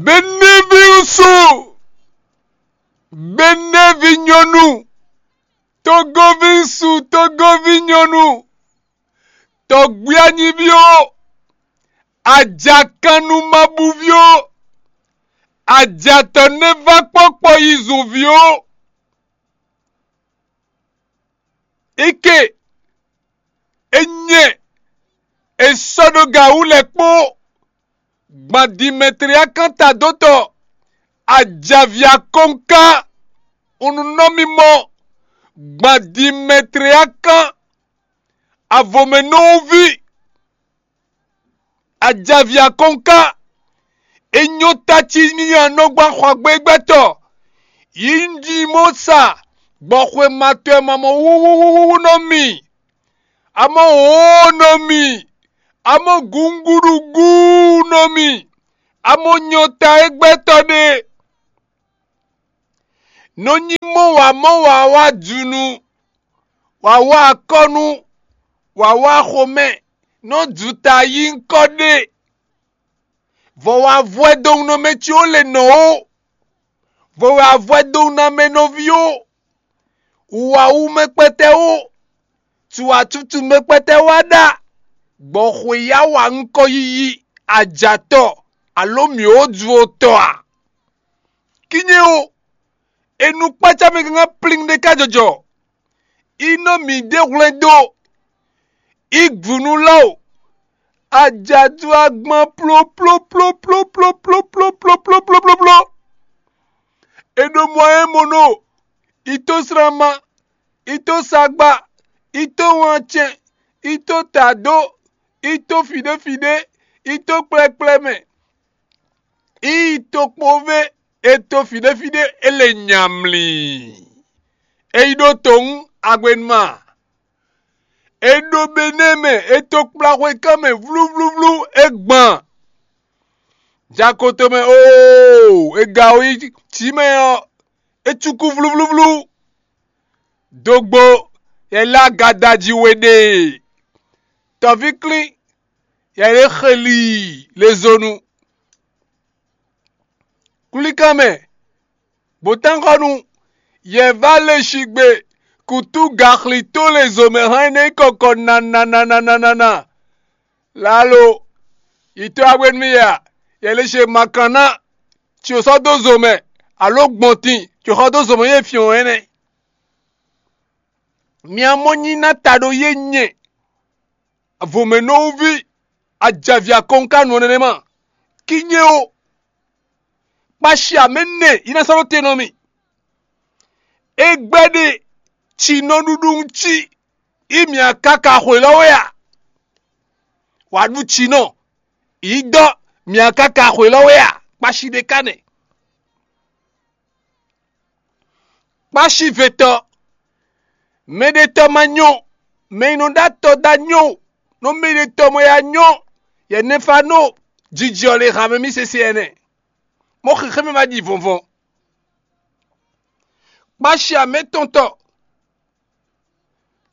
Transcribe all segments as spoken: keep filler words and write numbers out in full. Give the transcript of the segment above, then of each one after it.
Benévi ŋsu, Benévi nyɔnu, Togovi ŋsu, Togovi nyɔnu, tɔgbí anyíví ó, ajakannumabúví ó, ajatɔ́ nɛ́ vá kpɔ́kpɔ yi zunví ó. Ike, e nyɛ, e sɔ́ ɖó ga wú lɛ́ kpó, gban Dimɛtliákan tadótɔ, ajavǐ akɔ́nká, un nú nɔ mì mɔ, gban Dimɛtliákan, avɔmɛnɔví, ajavǐ akɔ́nká, e nyɔ́ ta cí n'i a nɔ gba xwagbégbɛ́tɔ́, yi un jí mɔ sa gbɔ xwe ma tɔn e ma mɔ wúwúwúwú nɔ mi, amɔ wǒ nɔ mi, amɔ gǔngúɖugú nɔ mi, amɔ nyɔ́ ta e gbɛtɔ́ ɖe. Nɔ nyí mɔ wǎ mɔ wǎ wá junu, wǎ wá akɔ́nú, wǎ wá xomɛ, nɔ ju ta yí ŋkɔ ɖe. Vɔ wá vwɛ dowunnɔmɛ ce ó le nɔ ó, vɔ wɛ avwɛ dowunnamɛ nɔví ó, wǔwáwú mɛ kpɛtɛ́ ó, tuwǎtútú mɛ kpɛtɛ́ wá ɖa, gbɔ xwe yá wa ŋkɔ yiyi ajatɔ alo mǐ ó ju ó tɔ a? Kínye ó, e nú kpácá mɛ gángan plin ɖé ká jɔjɔ, i nɔ mǐ ɖe hwlɛ́n dó, i gbǔ nú lá o, ajadu agban plóplóplóplóplóplóplóplóplóplóplóplópló. È ɖo mɔ e mɔ nɔ, i tó slánma, i tó sagba, i tó wáncɛn, i tó tadó, i tó fǐɖéfǐɖé, i tó kplɛ́kplɛ́ mɛ, i tó kpóvé, e tó fǐɖéfǐɖé, e le nyamlí. E yi ɖó towun agbenuma. E ɖo Benɛ́ɛ mɛ, e tó kplá xwekán mɛ vlúvlúvlú, e gban. Jakoto mɛ oo, e ga wú yi jǐ mɛ ɔ́, é cúkú vlúvlúvlú. Dogbo, yɛ lé agadaji we ɖe. Tɔ̌víklín, yɛ lé xeli lezonu. Klíkan mɛ, bǒtánxɔ́nu, yɛ vá le shigbe kutú gaxlitó lezomɛ hán énɛ́ nyí kɔkɔ nananananana. Lalo, yi tɔ́ wá hwenu ya, yɛ lě ce makanná, ci ò sɔ́ dó zo mɛ, alo gbɔntin, ci ò xɔ dó zo mɛ yě fyɔ́n ɛnɛ́. Mi amɔ́ nyí ná ta ɖó yé nyɛ, avomɛnɔwúví, ajavi akɔnkanú ɔ́ nɛnɛ́ ma, kínye ó. Kpashi amɛ nɛ yi ná sɔ́ ɖó te nɔ mì. É gbɛ́ ɖe ci nɔ ɖuɖu ŋ cí, yi mǐ káká xwelɔ́ wɛ a? Wǎ ɖu cinɔ, yi dɔ́ mǐ káká xwelɔ́ wɛ a? Kpashi ɖé ka nɛ. Kpashi vetɔ, mɛɖetɔ́ ma nyɔ́, mɛ e nɔ ɖó atɔ dó anyɔ́, nɔ mɛɖetɔ́ mɔ ya nyɔ́, yɛ nɛfá nɔ jijɔ le han mɛ mì sese ɛnɛ. Mɔ xixé mɛ ma ɖi vɔnvɔn. Kpashi amɛtɔntɔ,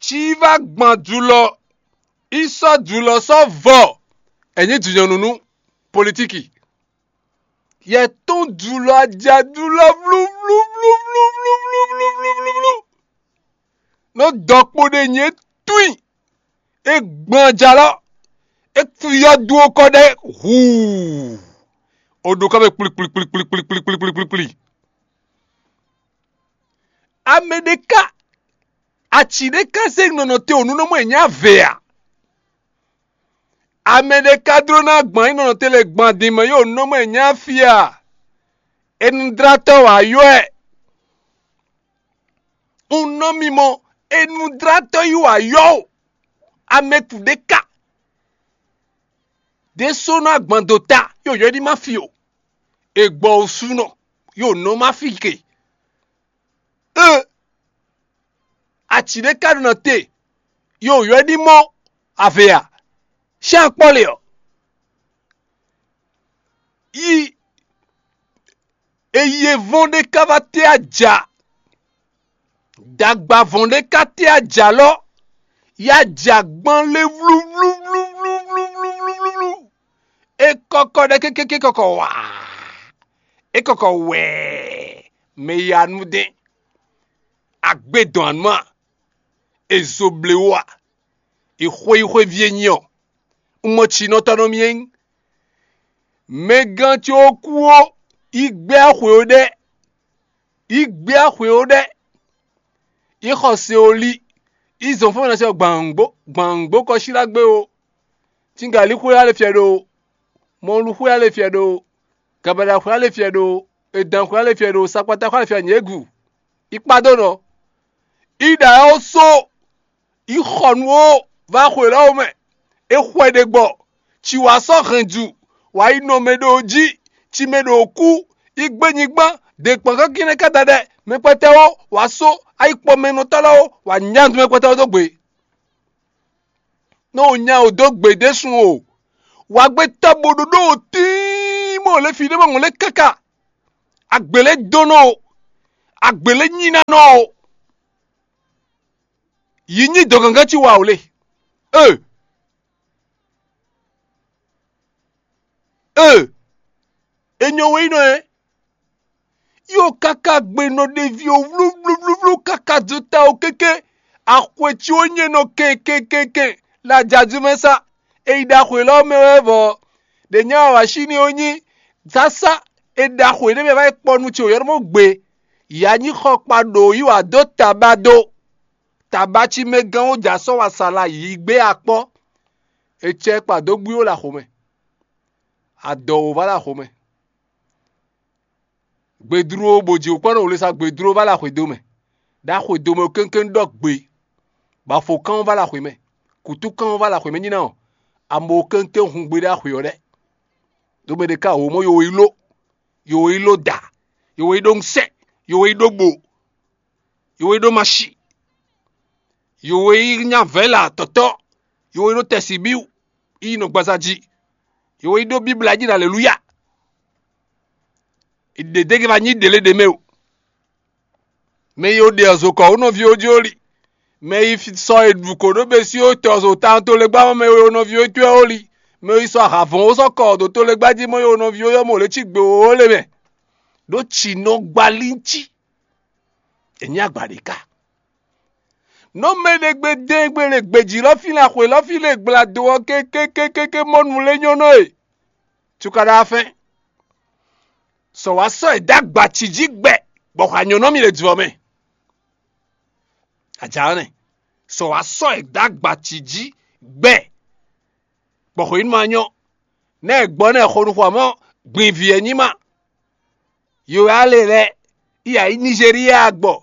ci yi vá gban julɔ, yi sɔ́ julɔ sɔ́ vɔ, ɛ̌ nyí jǐnyɔ́nú nú politíki. Yɛ tɔn julɔ ajadulɔ vlúvlúvlúvlúvlúvlú. Nɔ dɔkpo ɖe nyɛ twin, e gbɔn ajalɔ, e kú yɔ dú okɔ ɖe huu. O ɖo kɔ mɛ kplikplikplikplikplikplikplikplikplikpli. Amɛ ɖé ka, aci ɖé ka zé nɔnɔ te o nú nɔ mɔ e nyí ave a? Amɛ ɖé ka dló ná gbɔn ayǐ nɔnɔ te lɛ gbɔn adin mɛ yó nɔ mɔ e nyí afi a? Enudrátɔ́ wǎ yɔ ɛ. Un nɔ mimɔ, enudrátɔ́ yí wǎ yɔ o. Amɛ kú ɖé ka. Ɖésónɔ agban dó ta, yó yɔ ní ma fi o. È gbɔ osúnɔ, yó nɔ ma fi ke. Ë, aci ɖé ka ɖo nɔ te, yó yɔ ní mɔ ave a? Sín akpɔ́ le ɔ́, yi e yi e vɔ́n ɖé ka va te aja, dagba vɔ́n ɖé ka te aja lɔ, ya ja gban lé vlúvlúvlúvlúvlúvlúvlúvlú. É kɔkɔ ɖɛ kékéké kɔkɔ waa. É kɔkɔ wɛɛ, mɛ yi anú dɛn, agbe dɔn anú a? È zo ble wó a? È xwé yi xwéví e nyi ɔ́, un mɔ cinɔtɔ́ nɔ mì é nyí. Mɛgán ce ó kú ó, yi gbé axwe ó ɖɛ́, yi gbé axwe ó ɖɛ́, yi xɔ se ó lí, yi zɔn fɔ́n mɛ ná sɛ gbǎngbó gbǎngbó kɔsílá gbé ó. Cígalí xwé alɛ fiɛ ɖo, mɔlu xwé alɛ fiɛ ɖo, gabada xwé alɛ fiɛ ɖo, edan xwé alɛ fiɛ ɖo, sakpata xwé alɛ fiɛ nyěgu. Yi kpá dó nɔ, yi ɖa ɛ ó só, yi xɔ nú ó vá xwe lɔ́ mɛ. É xwɛ ɖe gbɔ, ci wǎ sɔ́ hɛn ju, wǎ yi nɔ mɛ ɖo jí, ci mɛ ɖo kú, yi gbé nyigban, ɖe kpɔ́n kánkín nɛ́ ká da ɖɛ, mɛ kpɛtɛ́ ó, wǎ só, ayi kpɔ mɛ nɔ tɔ́ lɛ́ɛ ó, wǎ nya nú mɛ kpɛtɛ́ ó dó gbe. Nɔ nya wǒ dó gbe ɖésú o. Wǎ gbé tɔ́ bo ɖó ɖó o tíin, bó lě fí ɖé bó ŋlɛ́ káká. Agbě lɛ́ dó nɔ o. Agbě lɛ́ nyi ná nɔ o. Yi nyi dɔ̌gangán ci wa o le. Ee. Ee. E nyɔ we yi nɔ ɛ. Yo káká gbe nɔ ɖevi o, vlúvlúvlú káká dó ta o kéké. Axwe ci ó nyɛ nɔ kɛnkɛnkɛnkɛn le ajadu mɛ sá. E yi ɖaxwe lɔ mɛ wɛ vɔ. Ɖě nya wa wǎ sí ni ó nyí sásá. E ɖaxwe ɖé mɛ va yi kpɔ nú ce o yɔ́ mɔ gbe. Ya nyí xɔkpa ɖo yi wǎ dó taba dó. Taba ci mɛ gán ó ja sɔ́ wa sa la yi gbé akpɔ́. E cɛ kpa dó bwí ó le axomɛ. Adɔ wǒ va le axomɛ. Gbedlú ó, bó ji wǔ kpɔ́n ɖo wle sa gbedlú ó va le axwedó mɛ. Ɖo axwedó mɛ kéŋkéŋ ɖɔ gbe, bɔ afɔkán ɔ́ va le axwe mɛ, kǔtúkán ɔ́ va le axwe mɛ nyí ná ɔ́, amo kéŋkéŋ hun gbe ɖó axwe ɔ́ ɖɛ́. Ɖó mɛ ɖé ka wǒ mɔ yo yi ló, yo yi ló da, yo yi ɖó ŋsɛ́, yo yi ɖó bo, yo yi ɖó mashi, yo yi nya vɛ̌la tɔ̌tɔ́, yo yi ɖó tɛsibíwu, yi nɔ gbaza jí, yo yi ɖó bíbla jí ɖo alelúya. Ɖědége va nyí ɖě lě ɖě mɛ o. Mɛ e wo ɖe ɔzo kɔ wú nɔví ó jí ó li. Mɛ e yi sɔ e ɖu kǒ ɖó bɛ́sín ó tɔ zo tawun tolégbá mɛ mɛ e wo nɔví ó cyɔ ó li. Mɛ e yi sɔ ahavɔ̌n ó sɔ́ kɔ ɖo tolégbá jí mɔ e wo nɔví ó yɔ́ mɔ lě cí gbe ó lě mɛ. Ɖó ci nɔ gba líncí. È nyí agba ɖě ká. Nɔ mɛ ɖé gbe dɛn gbe le gbějí lɔ fí le axwe lɔ fí le gbla do ɔ́ kékékékéké mɔ nu lé nyɔ́ nɔ e. Cukaɖa fɛn. Sɔ wá sɔ́ è dó agba ci jí gbɛ, bɔ xɔ anyɔ̌nɔ́ mì le jlɔ̌ mɛ. Ajǎ nɛ. Sɔ wá sɔ́ è dó agba ci jí gbɛ, bɔ xɔ yí nú ma nyɔ́. Nɛ́ è gbɔ nɛ́ xo nukún amɔ́ gbin vǐ e nyí ma. Yo wɛ ale lɛ́ɛ, yi ayǐ Nizeriya agbɔ,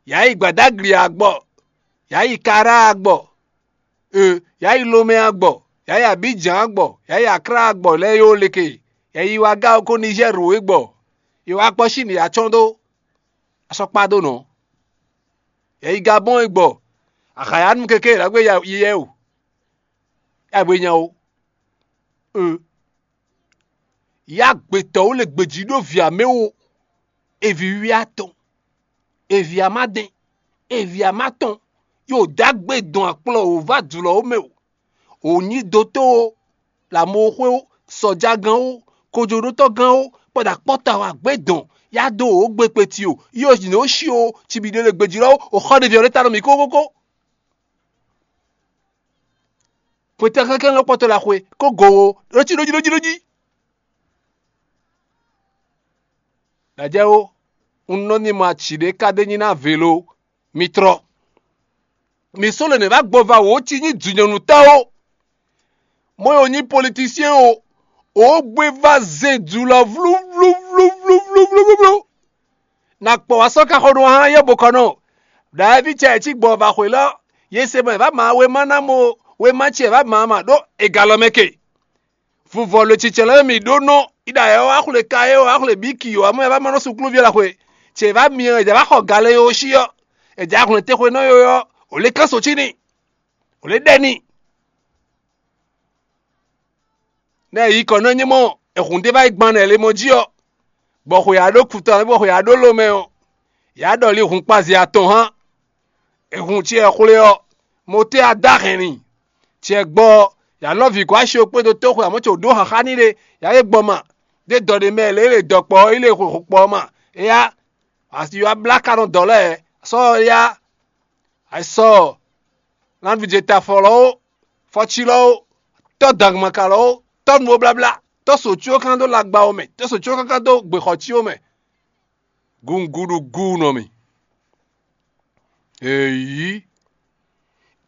yi ayǐ Gbadagli agbɔ, yi ayǐ Kara agbɔ, e, yi ayǐ Lomɛ agbɔ, yi ayǐ Abidjan agbɔ, yi ayǐ Akra agbɔ lɛ́ɛ yo leke, yi ayǐ Wagao ko Nizɛ́r wǒ gbɔ, yi wá kpɔ́ Síni yi acɔ́n dó, asɔkpa dó nɔ, yi ayǐ Gabɔ́n e gbɔ, ahǎyanu keke ɖagbe yi yɛ o, yi agbe nya o. E. Yá gbětɔ́ ó le gbějí ɖó vǐ amɛ ó, eví wí atɔn, eví amádɛn, eví amátɔn, yo dó agbe dɔn akplɔ wǒ vá jlɔ̌ ó mɛ o. Wǒ nyí dotó ó, lǎmɔxwé ó, sɔjagán ó, kojoɖótɔ́gán ó, kpɔ́dà kpɔ́ta wá gbé dɔn, yá dó wǒ gbe kpeti o, yí ò nǐ ó shi ó, cibiɖe le gbějí lɔ ó, o xɔ ɖe vǐ ɔ́ ɖé ta nɔ mǐ kókókó. Xwetɛ́ kɛ́kɛ́ lɔ kpɔ́tɔ́ la xwe, kó go wo, ɖó cí ɖó jí ɖó jí ɖó jí. Ɖajɛwo, un nɔ ní ma ci ɖé ka ɖé nyi ná velo, mi trɔ. Mi sɔ́ lě nɛ́ va gbɔ va wǒ ci nyí jǐnyɔ̌nútɔ́ ó. Mɔ̌ e wǒ nyí politisyɛn ó, wǒ gbé va zɛn jǔ lɔ vlúvlúvlúvlúvlúvlú. Na kpɔ wá sɔ́ ka xɔ nú hán yɛ bo kɔ nɔ. Ɖaɛví cɛ cí gbɔn va xwě lɔ, yě se mɛ vǎ ma wéma ná mɔ wéma ce vǎ ma ma ɖó è ga lɔ mɛ ke. Vuvɔ lo cicɛ lɔ mì ɖó nɔ, iɖa ɛ wá xwle ka é wá xwle bǐ kì wá mɔ ɛ vá ma nɔ sukluví la xwe. Cɛ vǎ mi ɔ́, è jǎ vá xɔ ga lɛ yo sí ɔ́, è jǎ hwlɛ́n te xwe nɔ yo ɔ́, ò lě kán so cí n'i, ò lě ɖɛ n'i. Nɛ yi kɔ nɔ nyí mɔ, è hun ɖé vá yi gban nɛ le mɔ jí ɔ́, bɔ xwe ya ɖó kutɔn bɔ xwe ya ɖó lomɛ ɔ́, ya ɖɔ li hun kpazi atɔn hán. È hun cɛ xwle ɔ́, mo tɛ́ a dó ahɛn n'i. Cɛ gbɔ ɔ́, ya lɔ́ vǐ gɔ́ asi ɔ́ kpódó tóxwe amɔ̌ ce wǒ ɖó xaxá n'i ɖe, ya yě gbɔ ma. Ɖé dɔ ɖé mɛ lě lě dɔkpɔ ɔ́, yi lě xwexwekpɔ ɔ́ ma. Éyá, asi wá blá ka nɔ dɔ̌ lɛ́ɛ, sɔ́ ɔ́ yá, ayisɔ, nánúvijɛtafɔ lɔ ó, fɔcí lɔ ó, tɔ́ dangumaka lɔ ó, tɔ́ nuwóbláblá, tɔ́ sǒcyó kán dó lagba ɔ́ mɛ, tɔ́ sǒcyó kán dó gběxɔcí ɔ́ mɛ. Gunguɖu gu nɔ mì. Eyi.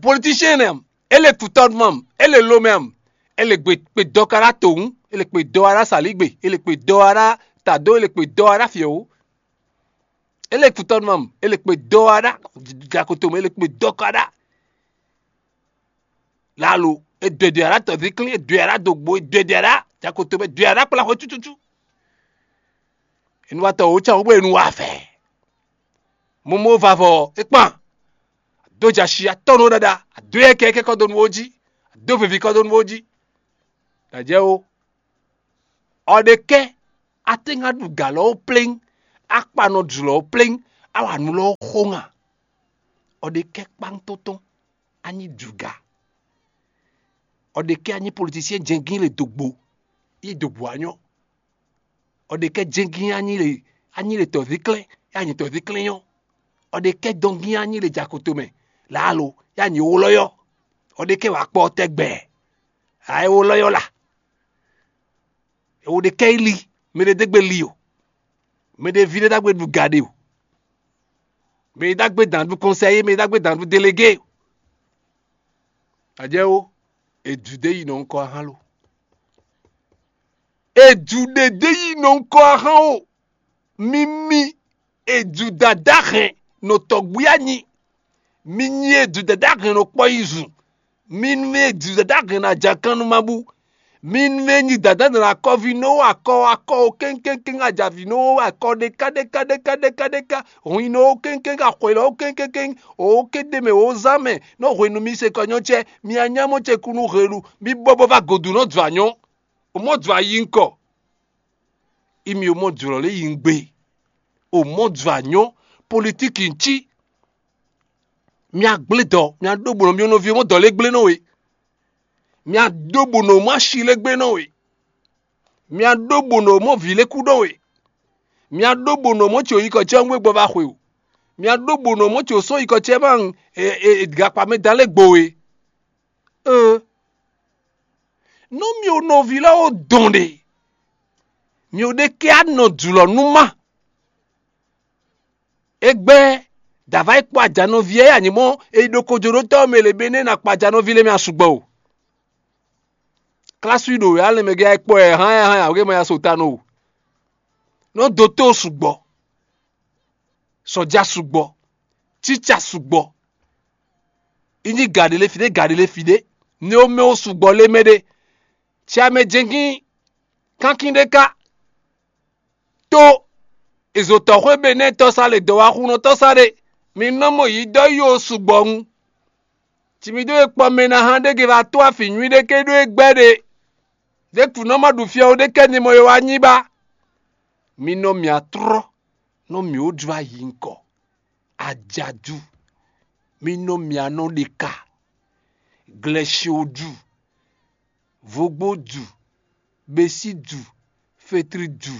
Politician nɛ am, ele tutɔnu am, ele lomɛ am, ele gbe kpe dɔ ka ɖa towun, ele kpe dɔ wa ɖa saligbe, ele kpe dɔ wa ɖa tado, ele kpe dɔ wa ɖa fiɛwu. Ele tutɔnu am, ele kpe dɔ wa ɖa jakoto mɛ, ele kpe dɔ ka ɖa. Lalo, e dwe dwe ɖa tɔzikli, e dwe ɖa dogbo, e dwe dwe ɖa jakoto mɛ, dwe ɖa kpla xwe tututu. Enuwatɔ wo can wo bɔ enu wa fɛ. Momo vavɔ é kpan. Ado jɛ asi atɔ́ nɔ ɖaɖa, ado yɛ kɛkɛ kɔ dó nu wo jí, ado vevi kɔ dó nu wo jí. Dajɛ o. Ɔ ɖe kɛ, a tɛ́ ŋá ɖu gǎ lɔ ó pléŋ, a kpa nɔ jlɔ̌ ó pléŋ, a wa nǔ lɔ ó xó ŋa. Ɔ ɖe kɛ kpáŋtɔ́tɔ́, a nyí juga. Ɔ ɖe kɛ a nyí politisiɛn jɛngín le dogbo, yi dogbo a nyɔ́. Ɔ ɖe kɛ jɛngín a nyí le a nyí le tɔ̌víklɛ́n, ya nyí tɔ̌víklɛ́n nyɔ́. Ɔ ɖe kɛ dɔngín a nyí le jakoto mɛ, lǎlo, ya nyí wlɔ́yɔ́. Ɔ ɖe kɛ wǎ kpɔ tɛgbɛ, a é wlɔ́yɔ́ la. È wo ɖe kɛ yi li, mɛ ɖé dé gbe li o, mɛ ɖé ví ɖé ɖagbe ɖu ga ɖe o, mɛ ɖé ɖagbe dǎn ɖu kɔnsɛyé, mɛ ɖé ɖagbe dǎn ɖu delégé o. Ajɛ o, è ju ɖé yi nɔ ŋkɔ ahán lo. È ju ɖě ɖé yi nɔ ŋkɔ ahán o. Mi mi, è ju dada hɛn nɔ tɔgbui anyi. Mi nyi e ju dada hɛn nɔ kpɔ yi zun. Mi nú e ju dada hɛn nɔ ajakan nú ma bú. Mi nú e nyi dada nɔ akɔvi nɔ akɔ akɔ o kɛnkɛnkɛn ajavi nɔ akɔ ɖeka ɖeka ɖeka ɖeka ɖeka. Hwin nɔ o kɛnkɛn axwelɔ o kɛnkɛnkɛn o kɛn ɖe mɛ o zan mɛ nɔ hwenu mi se kɔ nyɔ cɛ. Mi anyamɔ ce kunu helu. Mi bɔbɔ va godu nɔ dzɔ anyɔ. O mɔ dzɔ ayi ŋkɔ. Imi o mɔ jlɔ̌ lé yi ŋgbe. O mɔ jlɔ̌ anyɔ, politiki ŋ cí. Mia gblé dɔ, mia ɖó bǒ nɔ mia nɔví mɔ dɔ lé gblé nɔ we. Mia ɖó bǒ nɔ mɔ asi lé gblé nɔ we. Mia ɖó bǒ nɔ mɔ vǐ lé kú ɖɔ we. Mia ɖó bǒ nɔ mɔ tso yi kɔ cɛ ŋgbe gbɔ va xwe o. Mia ɖó bǒ nɔ mɔ tso sɔ́ yi kɔ cɛ ma gakpa mɛ da lé gbo we. Ée, nú mì o nɔví lɛ́ɛ ó dɔn ɖe, mì o ɖe kɛ anɔ jlɔ̌ nú má. Égbɛ́ dǎvá yi kpɔ ajanɔví e anyǐmɔ e yi ɖo kojoɖótɔ́ mɛ lě bɛ́ nɛ́ ná kpa ajanɔví lɛ́ɛ mɛ asúgbɔ o. Klásu yi ɖo wě alɛmɛ gɛ́ yi kpɔ ɛ hán ɛ hán awě ma ya so ta nɔ o. Nɔ dó tó sugbɔ, sɔja sugbɔ, cica sugbɔ. Yi nyi gaɖe lé fi ɖé, gaɖe lé fi ɖé, ne wo mɛ wo sugbɔ lé mɛ ɖé. Ci amɛ jɛngín kankin ɖé ká. Tó, èzò tɔxwé Benɛ́ tɔ́sá le dɔ̌wáxunɔ tɔ́sá ɖé, mi nɔ mɔ yi dɔ yi wo sugbɔ ŋu. Ci mi ɖó e kpɔ mɛ ná hán ɖé ge va tó afǐ nywí ɖé ké ɖó e gbɛ́ ɖe. Ɖěkpǔ nɔ ma ɖu fia ó ɖé kɛ ni mɔ e wá nyi ba. Mi nɔ mì atrɔ́, nɔ mì ó jló ayi ŋkɔ. Ajadu, mi nɔ mì anɔ ɖe ka. Glɛsio ju, vogbo ju, besi ju, fetri ju,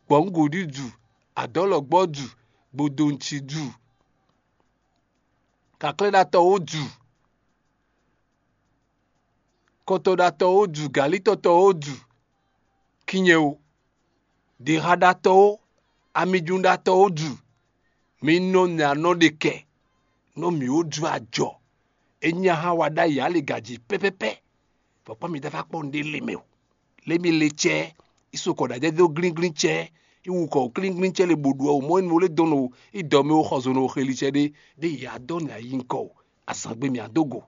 gbɔ̌ngǔɖi ju, adɔ̌lɔgbɔ́ ju, gbodonci ju, kaklɛ́ɖatɔ́wo ju, kɔtɔɖatɔ́wo ju, gǎlítɔ́tɔ́wo ju, kinyɛ o, ɖěxaɖatɔ́wo, amijúnɖatɔ́wo ju, mi nɔ nya nɔ ɖe kɛ, nɔ mǐ ó ju ajɔ. É nyí ahán wa ɖ'ayǐ aligaji pɛ́pɛ́pɛ́, bɔ kpɔ́n mi dá va kpɔ́ nǔɖé le mɛ o. Lě mi le cɛ́, yi so kɔ ɖ'ajɛ dó glínglín cɛ́, yi wu kɔ klínglín cɛ́ le bǒ ɖu ɔ́, mɔ̌ énɛ́ lé dɔn nɔ yi dɔ mɛ wo xɔ zo nɔ xeli cɛ ɖé, ɖé yě á dɔn nǔ ayi ŋkɔ o, azǎn gbe mǐ á dó go.